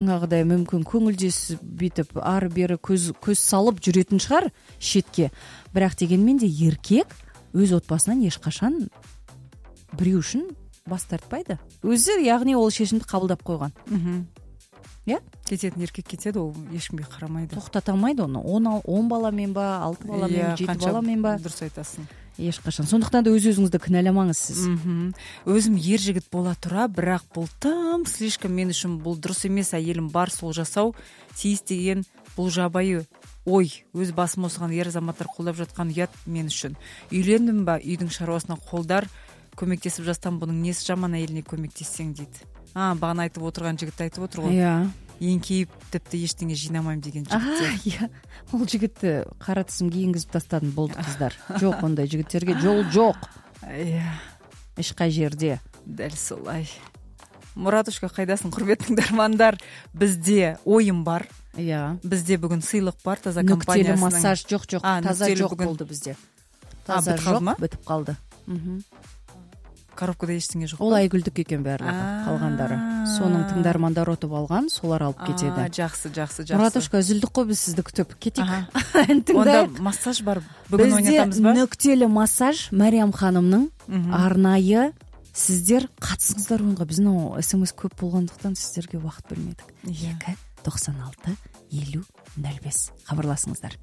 жаңагыдай мүмкүн көңүлсүз бүтүп ары бери көз салып жүрөтүн шығар шетке, бирок дегенмен де эркек өз отбасынан эч качан бирөө үчүн бас тартпайды. Өзү, ягни ол чечимди кабылдап койгон. Кететін еркек кетеді, ол ешкімге қарамайды, токтото алмайды оны. 10 баламен ба, 6 баламен, 7 баламен ба, дұрыс айтасың, эч качан. Сондуктан да өзүңүздү кыналамаңыз сиз. Өзүм ер жигит бола тура, бирок бул тым слишком мен үчүн бул дурус эмес. Айелим бар сол жасау тийиз деген бул жабайы ой, өз басым осуган ер азаматтар колдоп жаткан уят мен үчүн. Үйлөндүм ба, үйдүн шаруасына колдар көмөктесип жатсам, бунун несі жаман әйеліне көмектессең дейт. Багана айтып отырган жигит айтып отур го. Эңкейип тепти эчтене жыйнамайм деген жигит. Ол жигитти кара тизим кийингизип тастадым, болду кыздар. Жок, ондай жигиттерге жол жок. Эч кай жерде. Дәл солай. Муратушка, кайдасың, курметтүү тыңдармандар? Бизде оюм бар. Бизде бүгүн сыйлык бар, таза компаниясынын. Нүктелүү массаж жок, таза жок болду бизде. Таза жок, бүтүп калды. Коробкада эчтене жок. Ол Айгүлдүк экен баардыгы, калгандары. Сонун тыңдармандар отуп алган, солар алып кетеди. Жакшы. Муратушка, үзүлдүк го, биз сизди күтүп кетик. Онда массаж бар. Бүгүн ойнотабыз ба? Бизде нүктелүү массаж Мариям ханымдын арнайы. Сиздер катысыңыздар оюнга. Биздин СМС көп болгондуктан сиздерге убакыт бөлмөдүк. 2 96 50 05 кабарласыңыздар.